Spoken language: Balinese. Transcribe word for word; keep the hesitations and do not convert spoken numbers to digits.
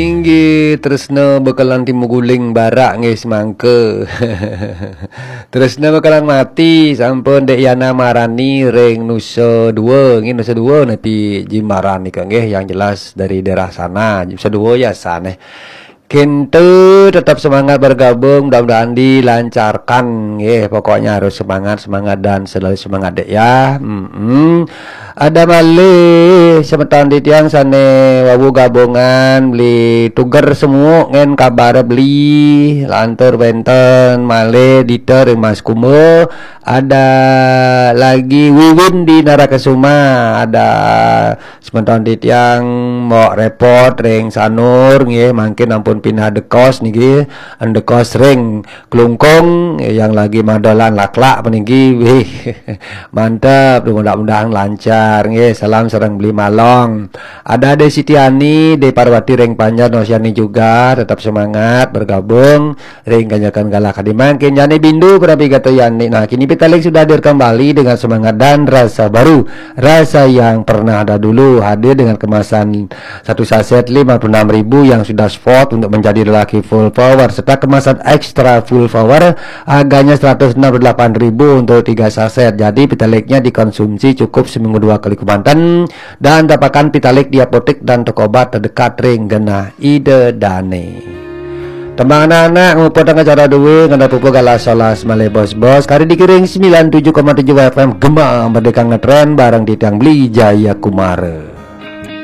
Inggih, tresna bekelan timuguling barak nggih semangka. Tresna bekelan mati, sampun Dek Yana Marani ring Nusa Dua. Nggih, Nusa Dua napi Ji Marani nika nggih, yang jelas dari daerah sana. Nusa Dua ya sana. Kintu tetap semangat bergabung, mudah-mudahan dilancarkan nggih. Pokoknya harus semangat, semangat dan selalu semangat Dek ya. Mm-mm. Ada malih semeton titiang sane wau gabungan beli tuger semua ngen kabar beli lantur wenten malih Dita ring Mas Kumba, ada lagi Wiwin di Narakasuma, ada semeton titiang Mbok Repot ring Sanur nggih, mangkin ampun pindah dekos niki, dekos ring Klungkung yang lagi madolan laklak puniki. Wih, mantep, mudah-mudahan lancar nggih. Salam sareng Beli Malong. Ada Dek Sitiani, Dek Parwati ring Panjar Nosiani juga tetap semangat bergabung ring kanyakan galah kadi mangkin. Yani Bindu Prabigata Yani. Nah, kini Pitaling sudah hadir kembali dengan semangat dan rasa baru, rasa yang pernah ada dulu, hadir dengan kemasan satu saset lima puluh enam ribu yang sudah spot untuk menjadi lelaki full power serta kemasan extra full power, harganya seratus enam puluh delapan ribu untuk tiga saset. Jadi Pitaliknya dikonsumsi cukup seminggu dua kali kemanten dan dapatkan Pitalik di apotek dan toko obat terdekat ring genah Ida Dane. Tembang anak-anak nguputang acara dua ngenah pupu galah solas malih bos-bos kari dikiring sembilan tujuh koma tujuh F M Gema Merdeka Ngetren bareng titiang Beli Jaya Kumara.